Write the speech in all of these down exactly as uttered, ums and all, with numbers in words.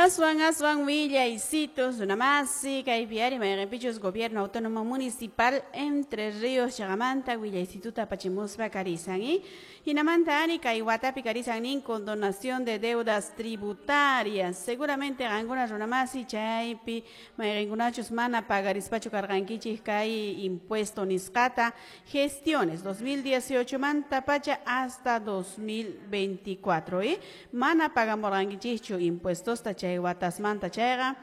Aswan aswan willaysitos runamasi kaypi ari mayqinpichus Gobierno Autónomo Municipal Entre Ríos chaqamanta willaysituta apachimuspa karisan y hinamanta ari kay watapi karisan nin condonación de deudas tributarias. Seguramente qankuna runamasi chaypi mayqinkunachus mana pagarispachu karqankichik kay impuesto nisqata gestiones dos mil dieciocho manta pacha hasta dos mil veinticuatro, ¿eh? Mana pagamurqankichikchu impuestosta chay watasmanta chayqa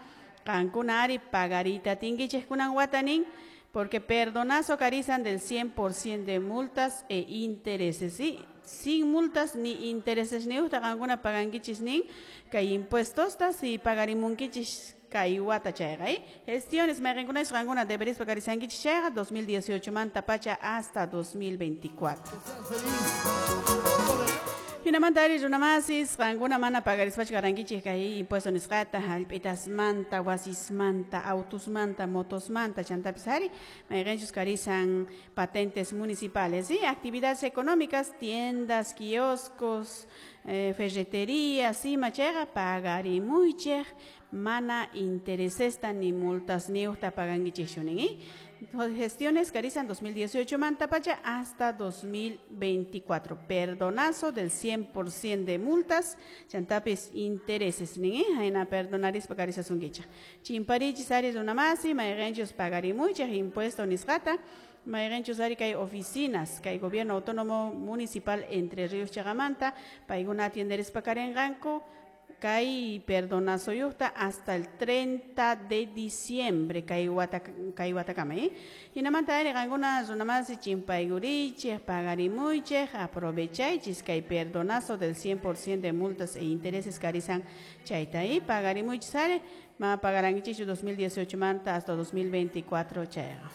qankuna ari pagarita tinkichik kunan watanin porque perdonazo karizan del cien por ciento de multas e intereses, ¿sí? Sin multas ni intereses ni usta qankuna pagankichis nin kay impuestosta si pagarimunkichis kay wata chayqa, ¿eh? Gestiones mayqinkunachu qankuna deberispa karizankichis chayqa dos mil dieciocho manta pacha hasta dos mil veinticuatro. Hinamanta ari runamasis qankuna mana pagarispachu karankichik kay impuesto nisqata hallp'itasmanta, wasismanta, autusmanta, motosmanta, chantapis ari mayqinchus karisan patentes municipales, ¿sí? Actividades económicas, tiendas, kioscos, eh, ferreterías, ima chayqa pagarimuychik mana interesesta ni multas ni usta pagankichikchu nin, ¿eh? Gestiones karizan dos mil dieciocho manta pacha hasta dos mil veinticuatro. Perdonazo del cien por ciento de multas, chantapis intereses nin, ¿eh? Aina perdonaris pagarizasunkicha. Chimparichis ari runamasi, mayqinchus pagarimuchaq impuesto nisqata, mayqinchus ari kay oficinas, kay Gobierno Autónomo Municipal Entre Ríos chaqamanta, paykuna atienderis pakarinqanku, kay perdonazo yuqta hasta el treinta de diciembre kay wata, kay watakama, ¿eh? Hinamanta ari qankuna runamasi chimpaykurichik, pagarimuychik, aprovechaychis kay perdonazo del cien por ciento de multas e intereses karizan chayta, ¿eh? Pagarimuychis ari, ma pagarankichikchu dos mil dieciocho manta hasta dos mil veinticuatro chayqa.